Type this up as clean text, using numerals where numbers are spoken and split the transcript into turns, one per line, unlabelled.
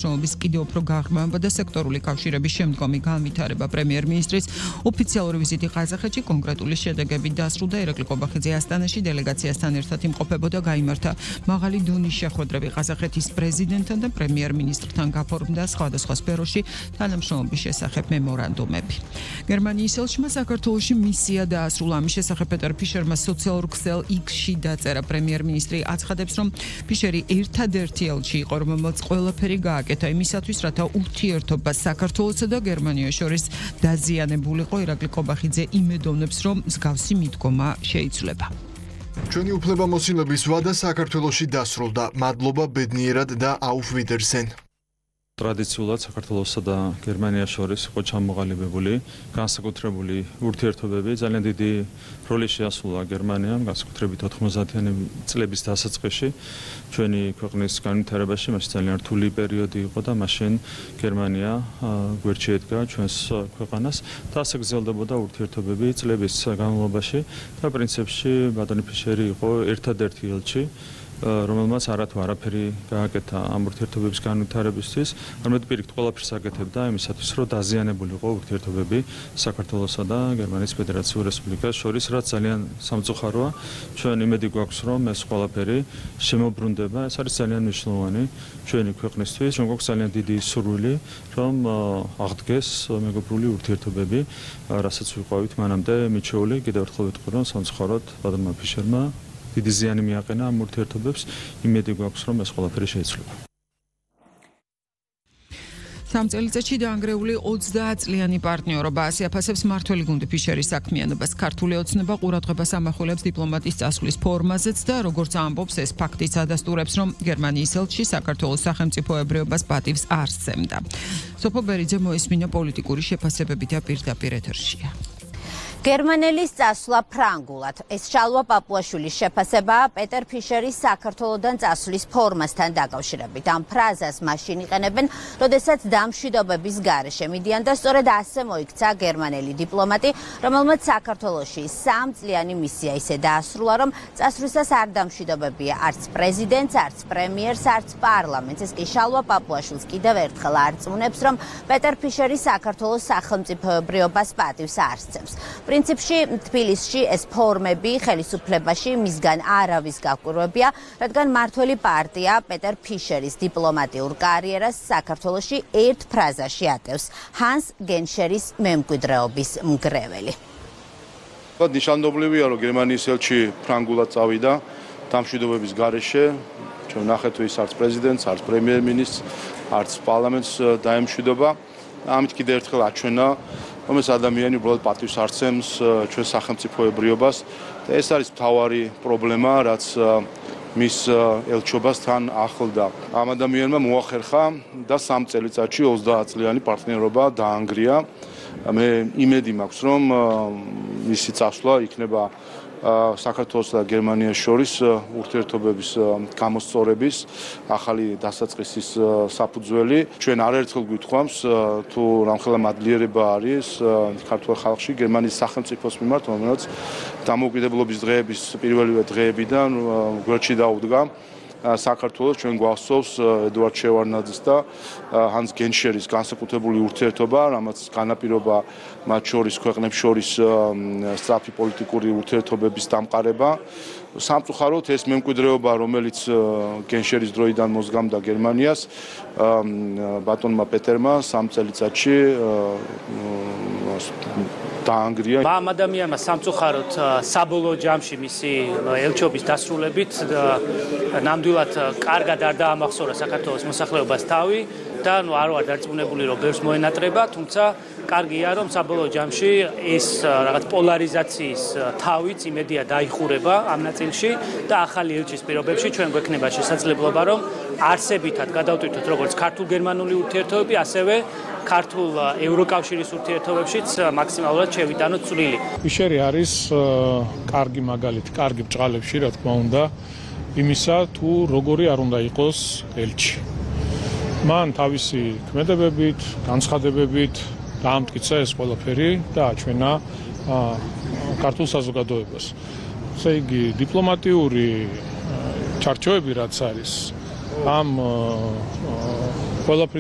შრომის კიდევ უფრო გაღრმავება და სექტორული კავშირების შემდგომი განვითარება. პრემიერ-მინისტრის ოფიციალური ვიზიტი ყაზახეთში კონკრეტული შედეგებით დასრულდა. ირაკლი ყობახიძე ასტანაში დელეგაციასთან ერთად იმყოფებოდა, გაიმართა მაღალი დონის შეხვედრები ყაზახეთის პრეზიდენტთან და პრემიერ-მინისტრთან, გაფორმდა სხვადასხვა სფეროში თანამშრომლობის შესახებ მემორანდუმები. გერმანიის ელჩმა საქართველოში მისია დაასრულა. ამის შესახებ პეტერ ფიშერმა სოციალურ ქსელ X-ში დაწერა. პრემიერ-მინისტრი აცხადებს, რომ ფიშერი ერთადერთი ელჩი იყო, რომელმაც ყველაფერი გააკეთა იმისათვის, რათა ურთიერთობა საქართველოსა და გერმანიას შორის დაზიანებულიყო. ირაკლი ყობახიძე იმედოვნებს, რომ მსგავსი მიდგომა შეიცვლება.
ჩვენი უფლებამოსილების ვადა საქართველოში დასრულდა. მადლობა ბედნიერად და auf Wiedersehen.
ტრადიციულად საქართველოსა და გერმანიას შორის იყო ჩამოყალიბებული განსაკუთრებული ურთიერთობები. ძალიან დიდი როლი შეასრულა გერმანიამ, განსაკუთრებით 90-იანი წლების დასაწყისში ჩვენი ქვეყნის განვითარებაში. მაშინ ძალიან რთული პერიოდი იყო და მაშინ გერმანია გვერდში ედგა ჩვენს ქვეყანას და ასე გრძელდებოდა ურთიერთობები წლების განმავლობაში და პრინციპში ბატონი ფიშერი იყო ერთადერთი ელჩი, რომელმაც არათუ არაფერი გააკეთა ამ ურთიერთობების განვითარებისთვის, არამედ პირიქით ყველაფერს აკეთებდა იმისათვის, რომ დაზიანებულიყო ურთიერთობები საქართველოსა და გერმანიის ფედერაციულ რესპუბლიკას შორის, რაც ძალიან სამწუხაროა. ჩვენ იმედი გვაქვს, რომ ეს ყველაფერი შემოbrunდება. ეს არის ძალიან მნიშვნელოვანი ჩვენი ქვეყნისთვის, რომ გვაქვს ძალიან დიდი სურვილი, რომ აღდგეს მეგობრული ურთიერთობები, რასაც ვიყავით მანამდე მიჩეული. კიდევ ერთხელ ვიტყვი, რომ სამწუხაროდ ბატონმა ფიშერმა დიდი ზიანი მიაყენა ამ ურთიერთობებს. იმედი გვაქვს, რომ ეს ყველაფერი შეიცვლება.
სამ წელიწადში დაანგრეული 30 წლიანი პარტნიორობა ასიაფასებს მმართველი გუნდი ფიშერის საქმიანობას. ქართული ოცნება ყურადღებას ამახვილებს დიპლომატის წასვლის ფორმაზეც და როგორც ამბობს, ეს ფაქტიც ადასტურებს, რომ გერმანიის ელჩი საქართველოს სახელმწიფოებრიობას პატივს არ სცემდა. სოფო ბერიძე მოისმინა პოლიტიკური შეფასებები და პირდაპირ ეთერშია.
გერმანელის წასვლა ფრანგულად. ეს შალვა პაპუაშვილის შეფასებაა პეტერ ფიშერის საქართველოდან წასვლის ფორმასთან დაკავშირებით. ამ ფრაზას მაშინ იყენებენ, როდესაც დამშვიდობების გარეშე მიდიან და სწორედ ასე მოიქცა გერმანელი დიპლომატი, რომელმაც საქართველოში 3 წლიანი მისია ისე დაასრულა, რომ წასვლისას არ დამშვიდობებია არც პრეზიდენტს, არც პრემიერს, არც პარლამენტს. ეს კი შალვა პაპუაშვილს კიდევ ერთხელ არწმუნებს, რომ პეტერ ფიშერი საქართველოს სახელმწიფოებრიობას პატივს არ სცემს. პრინციპში თბილისში ეს ფორმები ხელისუფლებაში მისგან არავის გაკვირვებია, რადგან მმართველი პარტია პეტერ ფიშერის დიპლომატიურ კარიერას საქართველოში ერთ ფრაზაში ატევს: ჰანს გენშერის მემკვიდრეობის მგრეველი.
ნიშანდობლივია, რომ გერმანიის ელჩი ფრანგულად წავიდა დამშვიდობების გარეშე. ჩვენ ნახეთ, ის არც პრეზიდენტს, არც პრემიერ-მინისტრს, არც პარლამენტს დაემშვიდობა. ამით კიდევ ერთხელ აჩვენა, რომ ეს ადამიანი უბრალოდ პატივს არ სცემს ჩვენ სახელმწიფოებრიობას და ეს არის მთავარი პრობლემა, რაც მის ელჩობას თან ახლდა. ამ ადამიანმა მოახერხა და 3 წელიწადში 30 წლიანი პარტნიორობა დაანგრია. მე იმედი მაქვს, რომ მისი წასვლა იქნება საქართველოს და გერმანიას შორის ურთიერთობების გამოსწორების ახალი დასაწყისის საფუძველი. ჩვენ არაერთხელ გვითხოვამს, თუ რამხელა მადლიერება არის ქართულ ხალხში გერმანიის სახელმწიფოს მიმართ, რომელიც დამოუკიდებლობის დღეების პირველივე დღეებიდან გვერდში დაუდგა საქართველოს. ჩვენ გვახსოვს ედუარდ შევარდნაძის და ჰანს გენშერის განსაკუთრებული ურთიერთობა, რამაც განაპირობა მათ შორის ქვეყნებს შორის სწრაფი პოლიტიკური ურთიერთობების დამყარება. სამწუხაროდ ეს მემკვიდრეობა, რომელიც გენშერის დროიდან მოსგამდა გერმანიას, ბატონმა პეტერმა 3 წელიწადში დაანგრია.
ამ ადამიანმა სამწუხაროდ საბოლოო ჯამში მისი ელჩობის დასრულებით ნამდვილად კარგად არ დაამახსოვრა საქართველოს მოსახლეობას თავი და არ ვარ დარწმუნებული, რომ ბევრს მოენატრება, თუმცა კარგია, რომ საბოლოო ჯამში ეს რაღაც პოლარიზაციის თავიც იმედია დაიხურება ამ ნაწილში და ახალი ელჩის პირობებში ჩვენ გვექნება შესაძლებლობა, რომ არსებითად გადავტვირთოთ როგორც ქართულ-გერმანული ურთიერთობები, ასევე ქართულ ევროკავშირის ურთიერთობებშიც მაქსიმალურად შევიტანოთ წვლილი.
ფიშერი არის კარგი მაგალითი, კარგი ბჭყალებში, რა თქმა უნდა, იმისა, თუ როგორი არ უნდა იყოს ელჩი. მან თავისი ქმედებებით, განცხადებებით დაამტკიცა ეს ყველაფერი და აჩვენა ქართულ საზოგადოებას. ესე იგი, დიპლომატიური ჩარჩოები რაც არის ამ ყველაფერი